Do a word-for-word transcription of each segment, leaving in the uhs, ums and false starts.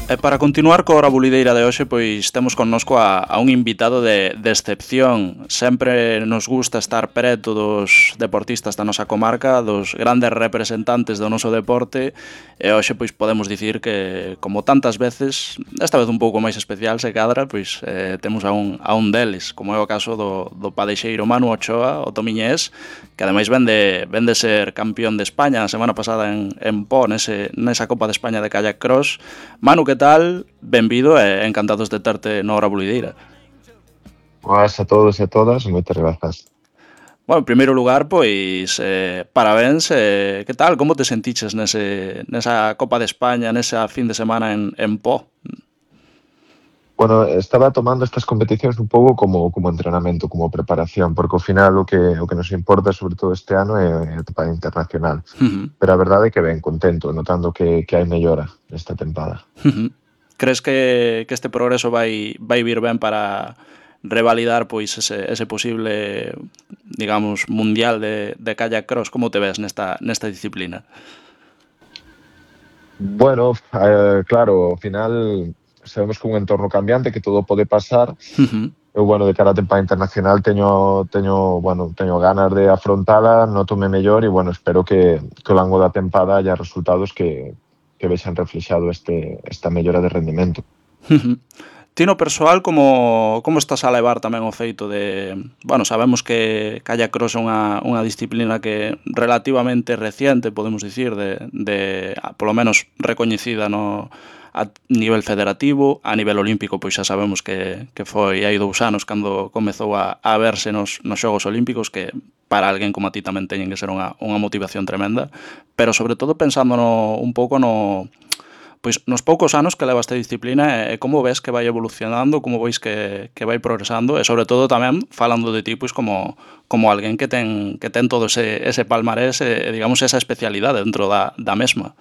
E para continuar coa hora bulideira de hoxe, pois temos connosco a, a un invitado de, de excepción. Sempre nos gusta estar preto dos deportistas da nosa comarca, dos grandes representantes do noso deporte, e hoxe pois podemos dicir que, como tantas veces, esta vez un pouco máis especial, se cadra, pois eh, temos a un, a un deles, como é o caso do, do padexeiro Manu Ochoa, o tomiñés, que ademais ven de, ven de ser campeón de España a semana pasada en, en Po, nese, nesa Copa de España de Kayak Cross. Manu, que tal? Benvido e encantados de terte na hora bulideira. Boas a todos e a todas, moitas grazas. Bueno, en primeiro lugar, pois, eh, parabéns, eh, que tal? Como te sentiches nese, nesa Copa de España, nesa fin de semana en, en Po? Bueno, estaba tomando estas competicións un pouco como, como entrenamento, como preparación, porque ao final o que, o que nos importa, sobre todo este ano, é a tempada internacional. Uh-huh. Pero a verdade é que ben, contento, notando que, que hai mellora nesta tempada. Uh-huh. Crees que, que este progreso vai, vai vir ben para revalidar pois ese, ese posible, digamos, mundial de, de kayak cross? Como te ves nesta, nesta disciplina? Bueno, eh, claro, ao final sabemos que é un entorno cambiante, que todo pode pasar. Uh-huh. Eu, bueno, de cara a tempada internacional teño, teño, bueno, teño ganas de afrontala, notome mellor e, bueno, espero que, que ao longo da tempada haya resultados que, que vexan reflexado este, esta mellora de rendimento. Uh-huh. Ti no persoal, como, como estás a levar tamén o feito de... Bueno, sabemos que kayak cross é unha, unha disciplina que relativamente reciente, podemos dicir, de, de polo menos recoñecida no, a nivel federativo, a nivel olímpico, pois xa sabemos que, que foi hai dous anos cando comezou a, a verse nos, nos Xogos Olímpicos, que para alguén como a ti tamén teñen que ser unha, unha motivación tremenda, pero sobre todo pensando no, un pouco no... Pois nos poucos anos que leva esta disciplina e como ves que vai evolucionando, como veis que, que vai progresando e sobre todo tamén falando de ti pois como, como alguén que ten, que ten todo ese, ese palmarés e digamos esa especialidade dentro da, da mesma.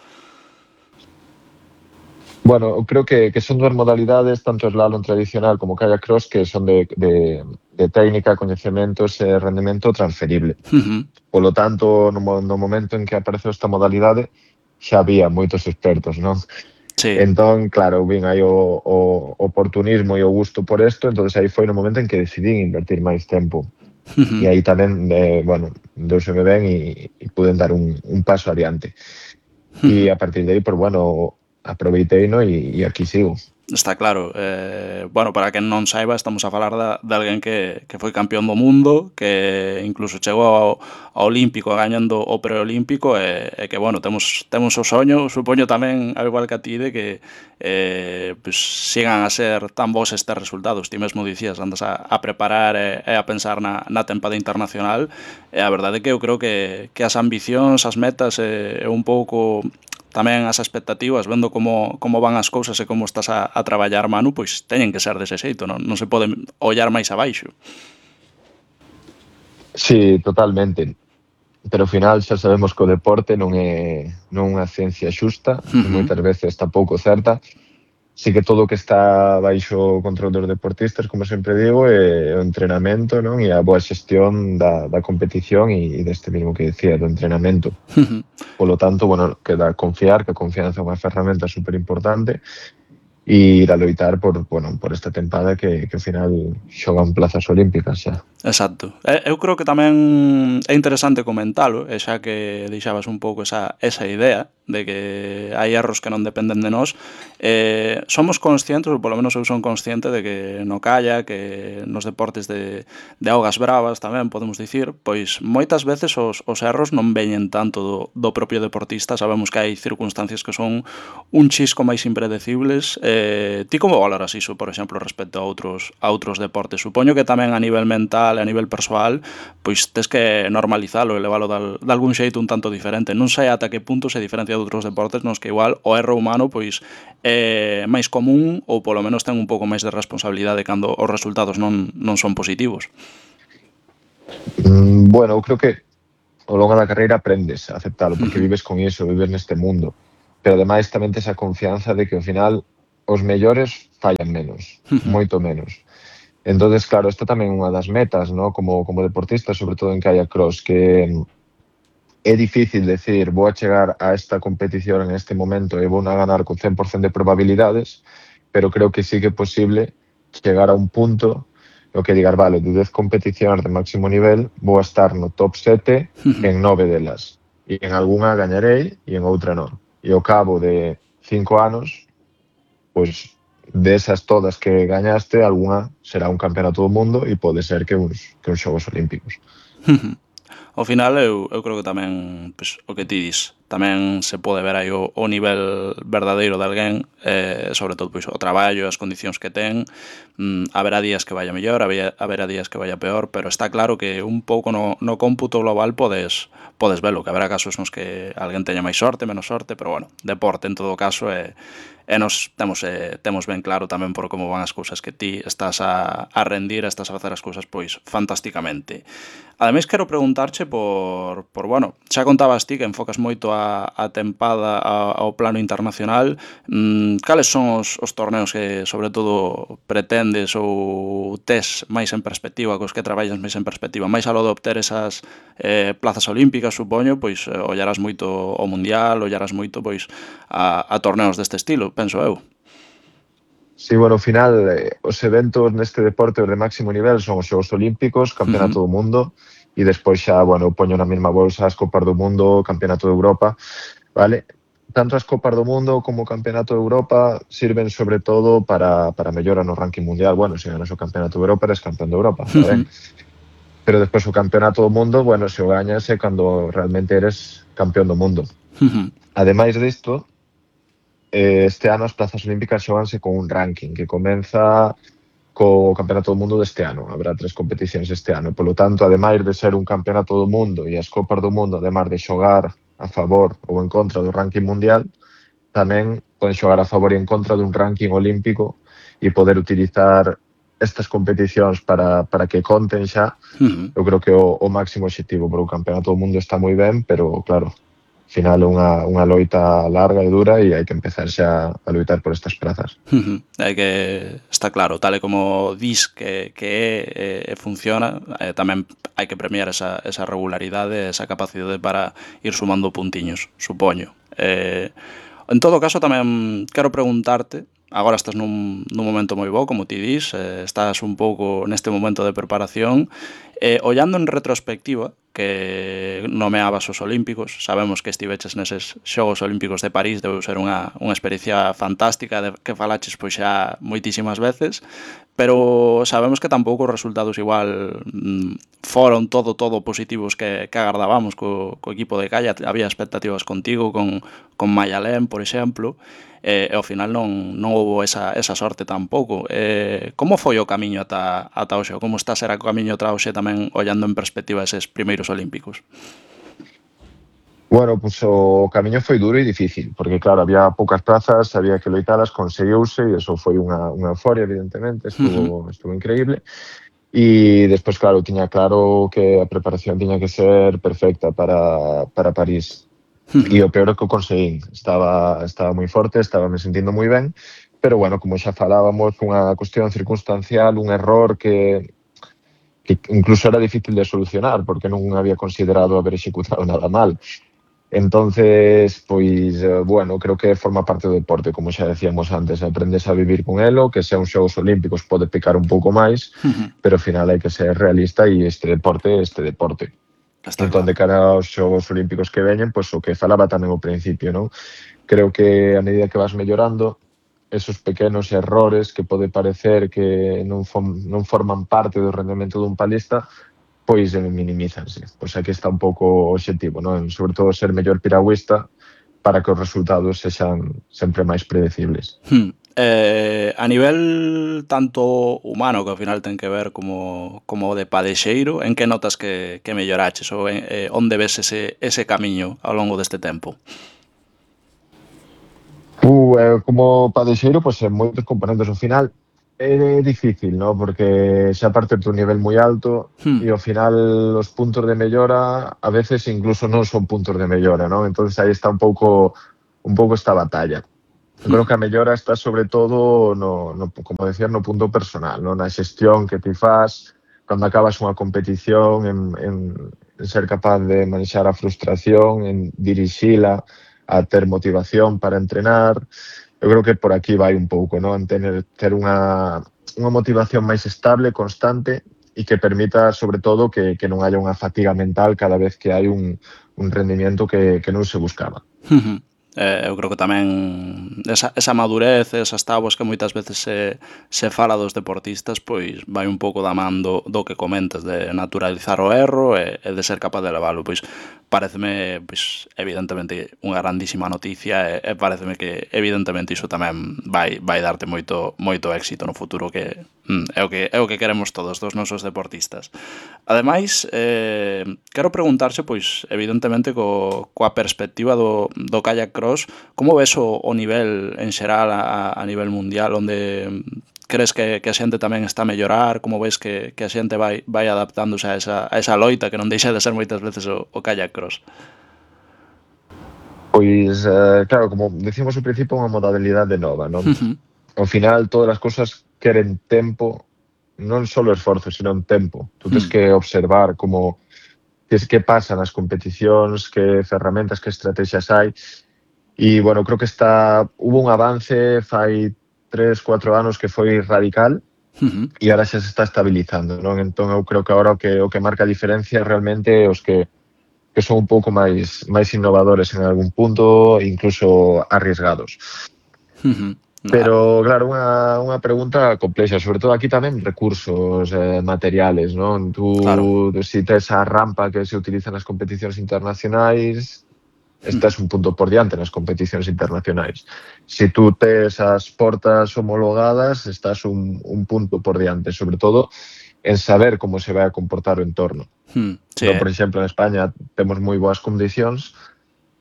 Bueno, creo que, que son dúas modalidades, tanto slalom tradicional como kayak cross, que son de, de, de técnica, coñecementos e rendimento transferible. Uh-huh. Polo tanto, no, no momento en que apareceu esta modalidade, xa había moitos expertos, non? Sí. Entón, claro, vin aí o, o oportunismo e o gusto por isto, entón aí foi no momento en que decidí invertir máis tempo. Uh-huh. E aí tamén, eh, bueno, deuseme ben e, e puden dar un, un paso adiante. Uh-huh. E a partir de aí, pues, bueno, aproveitei, no, e, e aquí sigo. Está claro, eh, bueno, para quen non saiba, estamos a falar da, de alguén que, que foi campeón do mundo, que incluso chegou ao, ao Olímpico gañando o preolímpico e, e que, bueno, temos, temos o soño, supoño tamén, ao igual que a ti, de que eh, pues, sigan a ser tan bons estes resultados. Ti mesmo dicías, andas a, a preparar e, e a pensar na, na tempada internacional e a verdade é que eu creo que, que as ambicións, as metas e, e un pouco... tamén as expectativas, vendo como, como van as cousas e como estás a, a traballar, Manu, pois teñen que ser dese xeito, non, non se pode ollar máis abaixo. Sí, totalmente. Pero ao final xa sabemos que o deporte non é non unha ciencia xusta, uh-huh. E moitas veces tampouco certa. Sí que todo o que está baixo o control dos deportistas, como sempre digo, é o entrenamento, non? E a boa xestión da, da competición e, e deste mismo que decía, do entrenamento. Uh-huh. Polo tanto, bueno, queda confiar, que a confianza é unha ferramenta super importante e ir a loitar por, bueno, por esta tempada que, que ao final xogan plazas olímpicas xa. Exacto. Eu creo que tamén é interesante comentalo, e xa que deixabas un pouco esa, esa idea de que hai erros que non dependen de nós, eh, somos conscientes, ou polo menos eu son consciente de que no kayak, que nos deportes de, de augas bravas tamén, podemos dicir, pois moitas veces os, os erros non veñen tanto do, do propio deportista, sabemos que hai circunstancias que son un chisco máis impredecibles. Eh, ti como valoras iso, por exemplo, respecto a outros, a outros deportes? Supoño que tamén a nivel mental e a nivel persoal, pois tes que normalizalo e levalo de, de algún xeito un tanto diferente. Non sei ata que punto se diferencia de outros deportes nos que igual o erro humano pois é máis común ou polo menos ten un pouco máis de responsabilidade cando os resultados non, non son positivos. Mm, bueno, eu creo que ao longo da carreira aprendes a aceptalo, porque vives con iso, vives neste mundo. Pero ademais tamén tes a confianza de que ao final os mellores fallan menos, moito menos. Entonces, claro, esta tamén é unha das metas, ¿no? Como, como deportista, sobre todo en kayak cross, que é difícil decir vou a chegar a esta competición en este momento e vou a ganar con cen por cento de probabilidades, pero creo que sí que é posible chegar a un punto no que digar, vale, de dez competicións de máximo nivel vou a estar no top sete en nove delas. E en algunha gañarei e en outra non. E ao cabo de cinco anos, pois desas todas que gañaste, algunha será un campeonato do mundo e pode ser que uns, que uns Xogos Olímpicos. Ao final, eu, eu creo que tamén, pois, o que ti dis, tamén se pode ver aí o, o nivel verdadeiro de alguén, eh, sobre todo pois, o traballo, as condicións que ten, mm, haberá días que vaya mellor, haberá, haberá días que vaya peor, pero está claro que un pouco no, no cómputo global podes, podes velo, que haberá casos nos que alguén teña máis sorte, menos sorte, pero bueno, deporte en todo caso é... E nos temos, eh, temos ben claro tamén por como van as cousas que ti estás a, a rendir, estás a facer as cousas pois fantásticamente. Ademais, quero preguntarche por, por bueno, xa contabas ti que enfocas moito a, a tempada a, ao plano internacional. Mm, cales son os, os torneos que, sobre todo, pretendes ou tes máis en perspectiva, cos que traballas máis en perspectiva? Mais aló de obter esas eh, plazas olímpicas, supoño, pois eh, ollarás moito ao mundial, ollarás moito pois a, a torneos deste estilo, penso eu. Sí, bueno, ao final, eh, os eventos neste deporte os de máximo nivel son os Xogos Olímpicos, Campeonato uh -huh. do Mundo, e despois xa, bueno, poño na mesma bolsa as Copas do Mundo, Campeonato de Europa, vale? Tanto as Copas do Mundo como o Campeonato de Europa sirven sobre todo para, para mellora no ranking mundial. Bueno, se ganas o Campeonato de Europa, eres campeón de Europa, uh -huh. Pero despois o Campeonato do Mundo, bueno, se o gañas é cando realmente eres campeón do mundo. Uh -huh. Ademais disto, este ano as plazas olímpicas xoganse con un ranking que comeza co Campeonato do Mundo deste ano. Habrá tres competicións este ano. Polo tanto, ademais de ser un Campeonato do Mundo e as Copas do Mundo, ademais de xogar a favor ou en contra do ranking mundial, tamén poden xogar a favor e en contra dun ranking olímpico e poder utilizar estas competicións para, para que conten xa. Uh-huh. Eu creo que o, o máximo obxectivo, porque o Campeonato do Mundo está moi ben, pero claro, ao final é unha, unha loita larga e dura e hai que empezar xa a loitar por estas prazas. Uh-huh. Hai que, está claro, tal e como dis que, que é, e funciona, eh, tamén hai que premiar esa, esa regularidade, esa capacidade para ir sumando puntiños, supoño. Eh, en todo caso, tamén quero preguntarte, agora estás nun, nun momento moi bo, como ti dis, eh, estás un pouco neste momento de preparación, eh, ollando en retrospectiva, que nomeabas os Olímpicos, sabemos que estiveches neses Xogos Olímpicos de París, debe ser unha, unha experiencia fantástica de que falaches pois xa moitísimas veces, pero sabemos que tampouco os resultados igual mm, foron todo, todo positivos que, que agardábamos co, co equipo de Calla, había expectativas contigo, con, con Mayalén, por exemplo, e, e ao final non, non houve esa, esa sorte tampouco. Eh, como foi o camiño ata, ata hoxe? Como está a ser o camiño ata hoxe tamén ollando en perspectiva eses primeiros Olímpicos? Bueno, pues o camiño foi duro e difícil, porque claro, había poucas plazas, había que loitalas, conseguiuse, e eso foi unha, unha euforia, evidentemente, estuvo, uh -huh. estuvo increíble. E despois, claro, tiña claro que a preparación tiña que ser perfecta para, para París. Uh -huh. E o peor é que o conseguín. Estaba, estaba moi forte, estaba me sentindo moi ben, pero bueno, como xa falábamos, unha cuestión circunstancial, un error que que incluso era difícil de solucionar, porque non había considerado haber executado nada mal. Entonces, pois, bueno, creo que forma parte do deporte, como xa decíamos antes, aprendes a vivir con elo, que sea un Xogos Olímpicos pode picar un pouco máis, uh-huh. pero ao final hai que ser realista e este deporte é este deporte. Está entón, claro. De cara aos Xogos Olímpicos que veñen, pois o que falaba tamén ao principio, non? Creo que a medida que vas mellorando, esos pequenos errores que pode parecer que non, non forman parte do rendemento dun palista, pois minimízanse. Pois aquí está un pouco o obxectivo, non? Sobre todo ser mellor piragüista para que os resultados sexan sempre máis predecibles. Hmm. Eh, a nivel tanto humano, que ao final ten que ver como, como de padexeiro, en que notas que, que melloraches ou en, eh, onde ves ese, ese camiño ao longo deste tempo? Uh, eh, como padexeiro, pois en moitos componentes ao final é difícil, ¿no? Porque xa parte de un nivel moi alto hmm. e ao final os puntos de mellora a veces incluso non son puntos de mellora, ¿no? Entonces aí está un pouco un pouco esta batalla. Eu creo que a mellora está sobre todo no, no como decía, no punto personal, ¿no? Na xestión que ti faz cando acabas unha competición en, en, en ser capaz de manexar a frustración, en dirixila, a ter motivación para entrenar. Eu creo que por aquí vai un pouco, ¿no? En tener, ter unha, unha motivación máis estable, constante, e que permita, sobre todo, que, que non haya unha fatiga mental cada vez que hai un, un rendimiento que, que non se buscaba. Ujú. Eh, eu creo que tamén esa, esa madurez, esas táboas que moitas veces se, se fala dos deportistas, pois vai un pouco da man do, do que comentas, de naturalizar o erro e, e de ser capaz de levalo. Pois pareceme, pois, evidentemente, unha grandísima noticia e, e pareceme que, evidentemente, iso tamén vai, vai darte moito, moito éxito no futuro, que mm, é, o que é o que queremos todos dos nosos deportistas. Ademais, eh, quero preguntarse, pois, evidentemente, co, coa perspectiva do, do kayak cross, como ves o, o nivel en xeral a, a nivel mundial, onde crees que, que a xente tamén está a mellorar, como ves que, que a xente vai, vai adaptándose a esa, a esa loita que non deixa de ser moitas veces o, o kayak cross? Pois, eh, claro, como decimos ao principio, unha modalidade nova, non? Ao final, todas as cousas queren tempo, non só esforzo, sino un tempo. Tú tens que observar como que, que pasa nas competicións, que ferramentas, que estrategias hai. E, bueno, creo que está, hubo un avance fai tres, cuatro anos que foi radical Uh-huh. e ahora xa se está estabilizando, non? Entón, eu creo que agora o que, o que marca a diferencia realmente os que, que son un pouco máis, máis innovadores en algún punto, incluso arriesgados. Uh-huh. Pero, claro, unha, unha pregunta complexa, sobre todo aquí tamén recursos eh, materiales, non? Tú, Claro. si tes a rampa que se utiliza nas competicións internacionais, estás un punto por diante nas competicións internacionais. Si tú tes as portas homologadas, estás un, un punto por diante, sobre todo en saber como se vai a comportar o entorno. Hmm, sí. Non, por exemplo, en España temos moi boas condicións,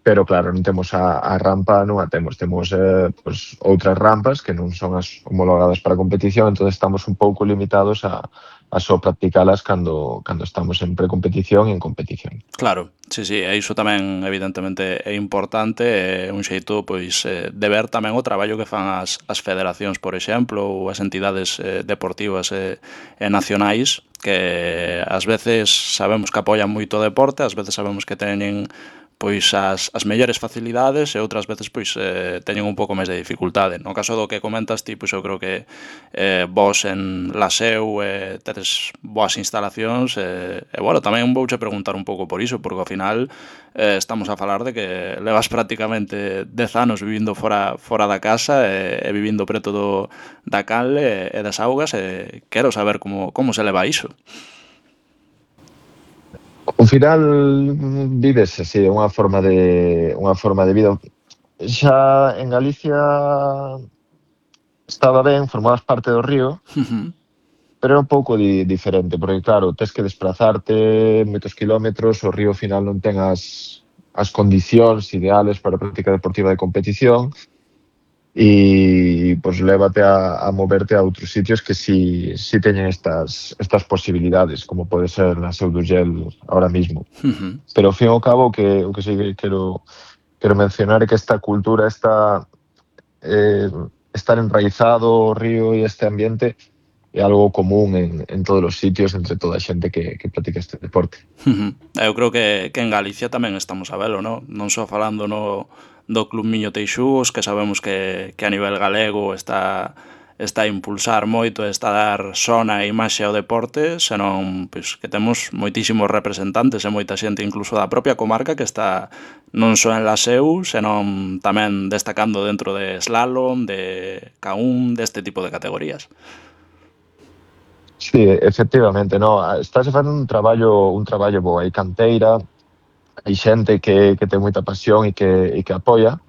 pero claro, non temos a, a rampa, non a temos, temos eh, pues, outras rampas que non son as homologadas para competición, entón estamos un pouco limitados a, a só practicalas cando, cando estamos en precompetición e en competición. Claro, sí, sí, e iso tamén evidentemente é importante, é un xeito pois eh, de ver tamén o traballo que fan as, as federacións, por exemplo, ou as entidades eh, deportivas e, e nacionais, que ás veces sabemos que apoian moito o deporte, ás veces sabemos que teñen pois as, as mellores facilidades e outras veces pois eh, teñen un pouco máis de dificultade. No caso do que comentas ti, pois eu creo que eh, vos en Laseu eh, tedes boas instalacións e, e bueno, tamén vouche preguntar un pouco por iso, porque ao final eh, estamos a falar de que levas prácticamente dez anos vivindo fora, fora da casa e, e vivindo preto do, da canle e, e das augas e quero saber como, como se leva iso. Ao final vives así, unha forma de unha forma de vida. Xa en Galicia estaba ben, formabas parte do río, Uh-huh. pero era un pouco di, diferente, porque claro, tes que desplazarte moitos kilómetros, o río ao final non ten as, as condicións ideales para a práctica deportiva de competición e pues, lévate a, a moverte a outros sitios que si, si teñen estas, estas posibilidades, como pode ser na Seu d'Urgell ahora mismo. Uh-huh. Pero ao fin e ao cabo, que, o que sí que quero, quero mencionar é que esta cultura, esta, eh, estar enraizado o río e este ambiente é algo común en, en todos os sitios, entre toda a xente que, que practica este deporte. Uh-huh. Eu creo que, que en Galicia tamén estamos a velo, no? Non só falando no, do Club Miño Teixúos, que sabemos que, que a nivel galego está, está a impulsar moito, está a dar sona e imaxe ao deporte, senón pois, que temos moitísimos representantes e moita xente incluso da propia comarca que está non só en Laseu, senón tamén destacando dentro de slalom, de K un, deste tipo de categorías. Sí, efectivamente, no, estás facendo un traballo un traballo bo, hai canteira, hai xente que, que ten moita pasión e que, e que apoia,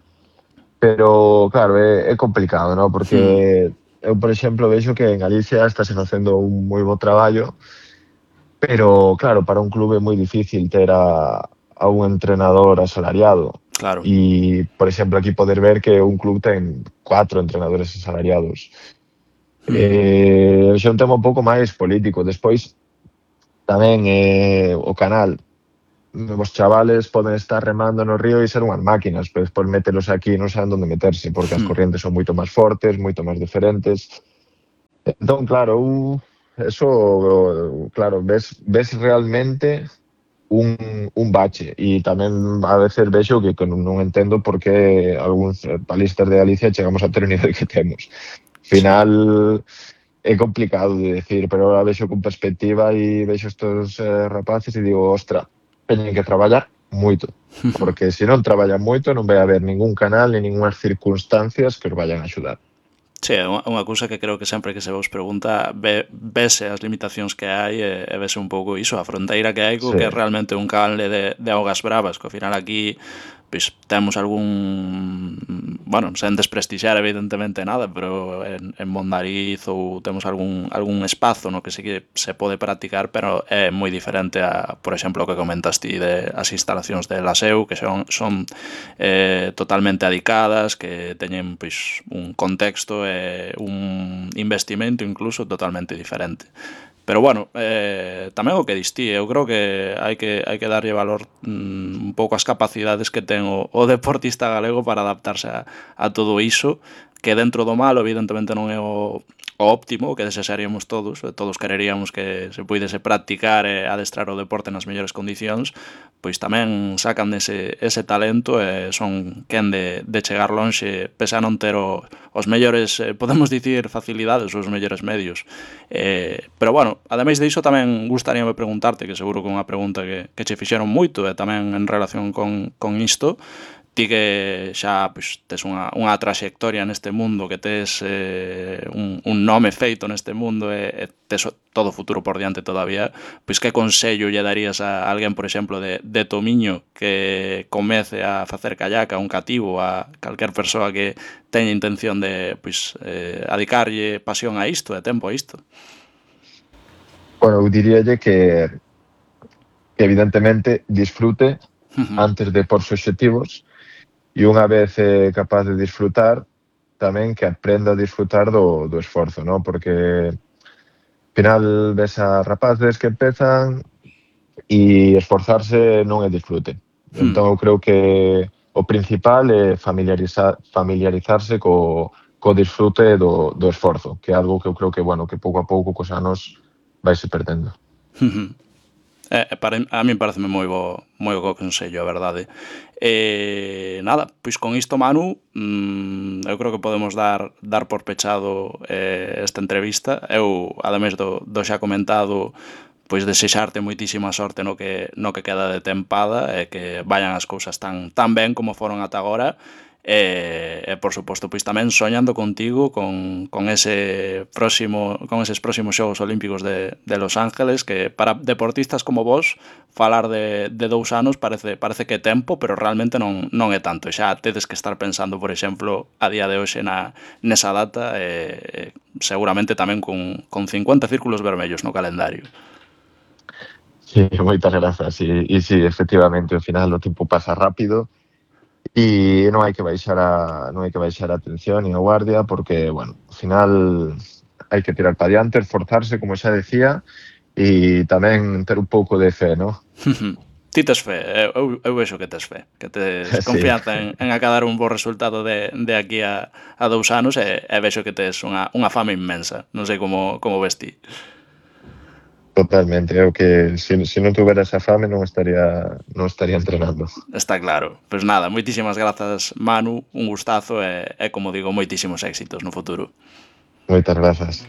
pero claro, é, é complicado, no? Porque eu, por exemplo, vexo que en Galicia estás facendo un moi bo traballo, pero claro, para un clube é moi difícil ter a, a un entrenador asalariado. Claro. E, por exemplo, aquí poder ver que un club ten cuatro entrenadores asalariados. Eh, xa un tema un pouco máis político. Despois, tamén eh, o canal. Os chavales poden estar remando no río e ser unhas máquinas, pero despois mételos aquí non saben onde meterse, porque as corrientes son moito máis fortes, moito máis diferentes. Entón, claro, uh, eso, claro, ves, ves realmente un, un bache, e tamén a veces vexo que, que non entendo por que algúns palistas de Galicia chegamos a ter o nivel que temos. Sí. Final é complicado de decir, pero ahora vexo con perspectiva e vexo estos eh, rapaces e digo, ostra, teñen que traballar moito, porque se non traballan moito non vai haber ningún canal ni ningunhas circunstancias que os vayan a axudar. Sí, é unha, unha cousa que creo que sempre que se vos pregunta ve, vese as limitacións que hai e, e vese un pouco iso, a fronteira que hai co Sí. que é realmente un canle de, de augas bravas, que ao final aquí pois temos algún, bueno, sen desprestixiar evidentemente nada, pero en, en Mondariz ou temos algún, algún espazo no que sí que se pode practicar, pero é moi diferente a, por exemplo, o que comentas ti de as instalacións de Laseu, que son, son eh, totalmente adicadas, que teñen pois un contexto e un investimento incluso totalmente diferente. Pero bueno, eh, tamén o que distí, eu creo que hai que hai que darlle valor mm, un pouco ás capacidades que ten o, o deportista galego para adaptarse a, a todo iso, que dentro do malo evidentemente non é o, o óptimo, o que desexaríamos todos, todos quereríamos que se puidese practicar e adestrar o deporte nas mellores condicións, pois tamén sacan ese, ese talento e son quen de, de chegar lonxe, pese a non ter o, os mellores, eh, podemos dicir, facilidades ou os mellores medios. Eh, pero bueno, ademais de iso tamén gustaríame preguntarte, que seguro que é unha pregunta que, que che fixeron moito e tamén en relación con, con isto, ti que xa pois, tes unha, unha traxectoria neste mundo, que tes eh, un, un nome feito neste mundo e, e tes todo o futuro por diante todavía, pois que consello lle darías a alguén, por exemplo, de, de Tomiño que comece a facer kayak, a un cativo, a calquer persoa que teña intención de pois, eh, adicarlle pasión a isto, e tempo a isto? Bueno, eu diríalle que, que evidentemente disfrute Ujú. antes de porse obxectivos e unha vez eh, capaz de disfrutar, tamén que aprenda a disfrutar do, do esforzo, ¿no? Porque ao final ves a rapaces que empezan e esforzarse non é disfrute. Hmm. Entón eu creo que o principal é familiarizar, familiarizarse co, co disfrute do, do esforzo, que é algo que eu creo que, bueno, que pouco a pouco cos anos vai se perdendo. Ujú. Eh, para, a min pareceme moi bo, moi bo consello, a verdade. E nada, pois con isto, Manu, mmm, eu creo que podemos dar dar por pechado eh, esta entrevista. Eu, ademais do, do xa comentado, pois desexarte moitísima sorte no que no que queda de tempada e que vayan as cousas tan tan ben como foron ata agora. E, e por suposto, pois tamén soñando contigo con, con ese próximo con eses próximos Xogos Olímpicos de, de Los Ángeles, que para deportistas como vos falar de, de dous anos parece parece que é tempo, pero realmente non non é tanto. Xa tedes que estar pensando, por exemplo, a día de hoxe na nesa data, e seguramente tamén con, con cincuenta círculos vermellos no calendario. Sí, moitas grazas. E, e sí, efectivamente, ao final o tempo pasa rápido e non hai que baixar a non hai que baixar a atención nin a guardia, porque, bueno, ao final hai que tirar para diante, esforzarse, como xa decía, e tamén ter un pouco de fe, ¿no? Ti tes fe, eu, eu vexo que tes fe, que tes Sí, confianza en, en acadar un bo resultado de, de aquí a, a dous anos, e, e vexo que tes unha, unha fama inmensa. Non sei como, como ves ti. totalmente. Eu que se, se non tuvera esa fame non estaría non estaría entrenando. Está claro. Pois nada, moitísimas grazas, Manu, un gustazo e, e como digo, moitísimos éxitos no futuro. Moitas grazas.